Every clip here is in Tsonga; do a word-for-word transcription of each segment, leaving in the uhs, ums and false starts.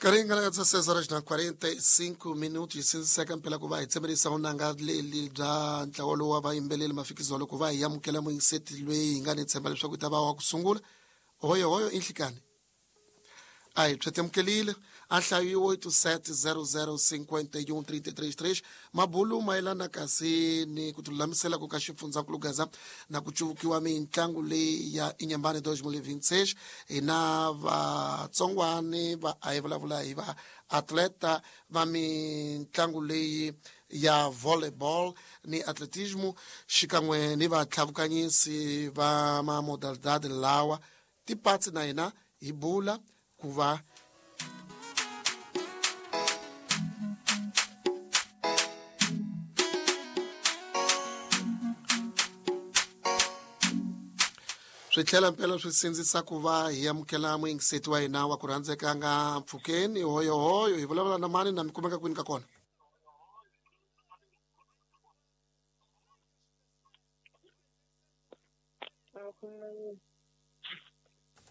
Karingana dezesseis horas na quarenta e cinco minutos sinziseka mpela ku va hi tsemerisa unanga leli bya ntlawa lowu wa vayimbeleli mafikizolo ku va hi amukela muyingiseti loyi hi nga ni tshemba leswaku ta va wa ku sungula hoyo hoyo i nhlikani a hi twetemukelile a hlayiwe oito sete zero zero cinquenta e um trinta e três três mabulu mayelana kasi ni ku tilulamisela ku ka xifundzankulu Gaza na ku cuvukiwa mitlangu leyi ya Inhambane dois mil e vinte e seis hi na vatsongwani va a hi vulavula hi va atleta va mitlangu leyi ya volleyball ni atletismo xikan'we ni vatlhavukanyisi va ma modalidade lawa tipatsi na hina hi bula ku va swi tlhela mpela swi sindzisa ku va hi amukela muyingiseti wa hina wa ku rhandzeka nga mpfhukeni hoyohoyo hi vulavula na mani na mi kumeka kwini ka kona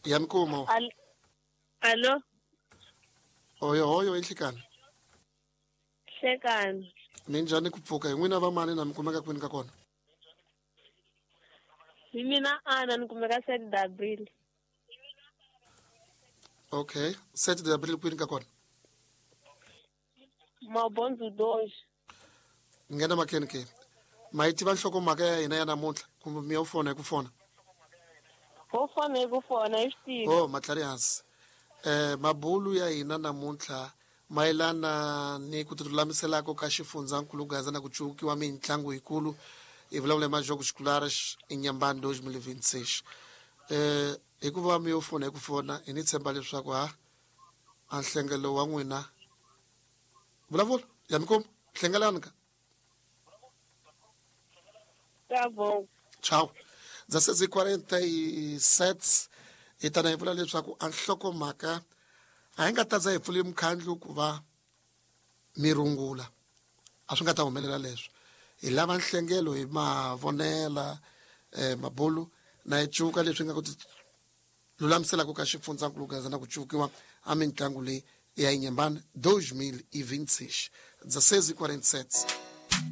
ya mi kuma Alo. Hoyo hoyo inhlikani. Hlekani. Minjhani ku pfuka hi n'wina va mani na mi kumeka kwini ka kona? Hi mina Ana ni kumeka sete de Abril. Okay, sete de Abril kwini ka kona? Mabondzo dois. Nghena makheni ke. Ma yi tiva nhlokomhaka ya hina ya namuntlha kumbe mi yo fona hi ku fona? Ho fona hi ku fona hi swi Oh, matlhari hansi. Eh mabulu ya hina namuntlha mayelana ni ku tilulamiselako ka xifundzankulu Gaza na ku cuvukiwa mitlangu yikulu hi vulavula hi majogos escolares Inhambane dois mil e vinte e seis. Eh hikuva mi yo fona hi ku fona hi ni tshemba leswaku ha a nhlengelo wa n'wina vulavula ya mi kuma hlengelani ka Tá bom. Tchau. dezesseis e quarenta e sete hi tana hi vula leswaku a nhlokomhaka a hi nga ta za hi pfule mukhandlu ku va mi rungula a swi nga ta humelela leswo hi lava nhlengelo hi mavonela eh, mabulu na hi cuka leswi nga ku lulamiselaka ka xifundzankulu Gaza na ku cuvukiwa a mitlangu leyi ya Inhambane dois mil e vinte e seis. dezesseis e quarenta e sete.